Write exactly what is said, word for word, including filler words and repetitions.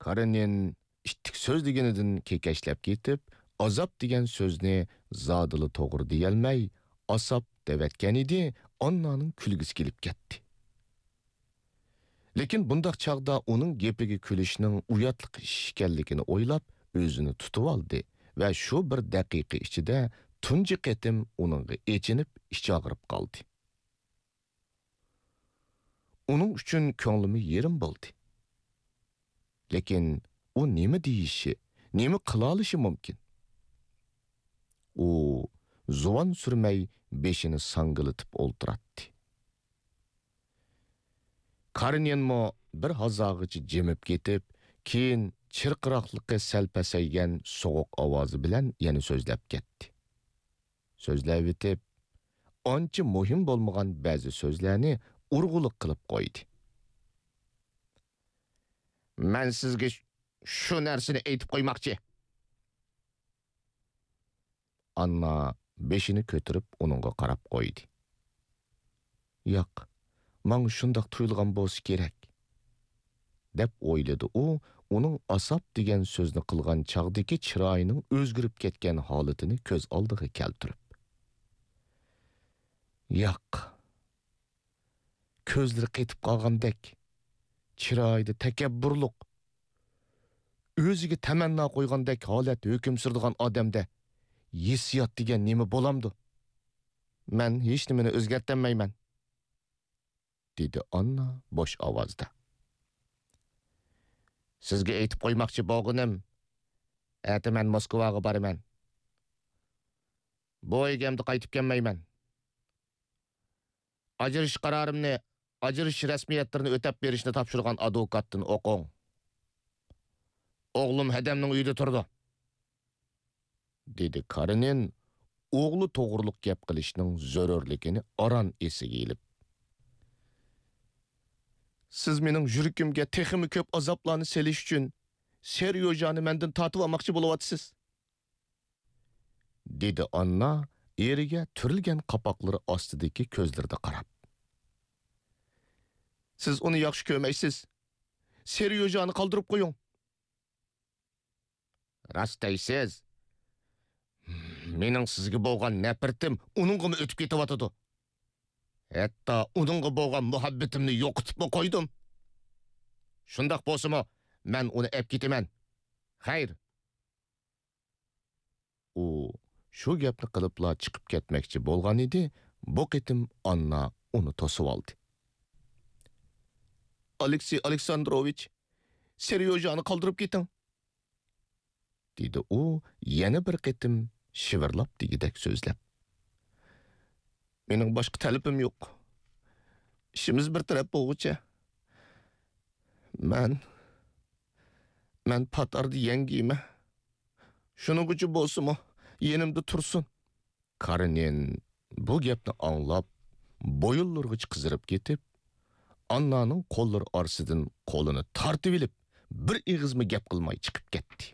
كارېنىن ئىتتىك سۆزلىگىنىدىن كېكەچلەپ كېتىپ، ئازاب دېگەن سۆزنى زادىلا توغرا دېيەلمەي، ئاساب دەۋەتكەنىدى، ئاننانىڭ كۈلگۈسى كېلىپ كەتتى. لېكىن بۇنداق چاغدا ئۇنىڭ گېپىگە كۈلۈشنىڭ ئۇياتلىق ئىش ئىكەنلىكىنى ئويلاپ، ئۆزىنى تۇتۇۋالدى ۋە شۇ بىر دەقىقە ئىچىدە تۇنجى قېتىم ئۇنىڭغا ئېچىنىپ، ئىچى ئاغرىپ قالدى. ئۇنىڭ ئۈچۈن كۆڭلىمۇ يېرىم بولدى. لېكىن ئۇ نېمە دېيىشى، نېمە قىلالىشى مۇمكىن؟ ئۇ زۇۋان سۈرمەي بېشىنى ساڭگىلىتىپ ئولتۇراتتى. كارېنىنمۇ بىر ھازاغىچە جىمىپ كېتىپ، كېيىن چىرقىراقلىقى سەل پەسەيگەن سوغۇق ئاۋازى بىلەن يەنە سۆزلەپ كەتتى. سۆزلەۋېتىپ، ئانچە مۇھىم بولمىغان بەزى سۆزلەرنى ئۇرغۇلۇق قىلىپ قويدى. مەن سىزگە ش-، شۇ نەرسىنى ئېيتىپ قويماقچى. ئاننا بېشىنى كۆتۈرۈپ ئۇنىڭغا قاراپ قويدى. ياق، ماڭا شۇنداق تۇيۇلغان بولسا كېرەك، دەپ ئويلىدى ئۇ، ئۇنىڭ ئاساب دېگەن سۆزنى قىلغان چاغدىكى چىرايىنىڭ ئۆزگىرىپ كەتكەن ھالىتىنى كۆز ئالدىغا كەلتۈرۈپ. ياق، كۆزلىرى قېتىپ قالغاندەك، چىرايىدا تەكەببۇرلۇق، ئۆزىگە تەمەننا قويغاندەك ھالەت ھۆكۈم سۈرىدىغان ئادەمدە ھېسسىيات دېگەن نېمە بولامدۇ؟ مەن ھېچنېمىنى ئۆزگەرتەلمەيمەن، دېدى ئاننا بوش ئاۋازدا. سىزگە ئېيتىپ قويماقچى بولغىنىم، ئەتە مەن موسكۋاغا بارىمەن. بۇ ئۆيگە ئەمدى قايتىپ كەلمەيمەن. ئاجرىشىش قارارىمنى، ئاجرىشىش رەسمىيەتلىرىنى ئۆتەپ بېرىشنى تاپشۇرغان ئادۋوكاتتىن ئوقۇڭ. ئوغلۇم ھەدەمنىڭ ئۆيىدە تۇرىدۇ، دېدى كارېنىن ئوغلى توغرۇلۇق گەپ قىلىشنىڭ زۆرۈرلۈكىنى ئاران ئېسىگە ئېلىپ. سىز مېنىڭ يۈرىكىمگە تېخىمۇ كۆپ ئازابلارنى سېلىش ئۈچۈن سېريوژانى مەندىن تارتىۋالماقچى بولۇۋاتىسىز. دېدى ئاننا ئېرىگە تۈرۈلگەن قاپاقلىرى ئاستىدىكى كۆزلىرىدە قاراپ. سىز ئۇنى ياخشى كۆرمەيسىز. سېريوژانى قالدۇرۇپ قويۇڭ. راست دەيسىز. مېنىڭ سىزگە بولغان نەپرىتىم ئۇنىڭغىمۇ ئۆتۈپ كېتىۋاتىدۇ. ھەتتا ئۇنىڭغا بولغان مۇھەببىتىمنى يوقىتىپمۇ قويدۇم. شۇنداق بولسىمۇ، مەن ئۇنى ئەپ كېتىمەن. خەير. ئۇ شۇ گەپنى قىلىپلا چىقىپ كەتمەكچى بولغانىدى، بۇ قېتىم ئاننا ئۇنى توسۇۋالدى. ئالېكسېي ئالېكساندروۋىچ، سېريوژانى قالدۇرۇپ كېتىڭ، دېدى ئۇ يەنە بىر قېتىم شىۋىرلاپ دېگۈدەك سۆزلەپ. مېنىڭ باشقا تەلىپىم يوق. ئىشىمىز بىر تەرەپ بولغۇچە. مەن، مەن پات ئارىدا يەڭگىيمەن. شۇنىڭغىچە بولسىمۇ، يېنىمدا تۇرسۇن. كارېنىن بۇ گەپنى ئاڭلاپ، بويۇنلىرىغىچە قىزىرىپ كېتىپ، ئاننانىڭ قوللىرى ئارىسىدىن قولىنى تارتىۋېلىپ، بىر ئېغىزمۇ گەپ قىلماي چىقىپ كەتتى.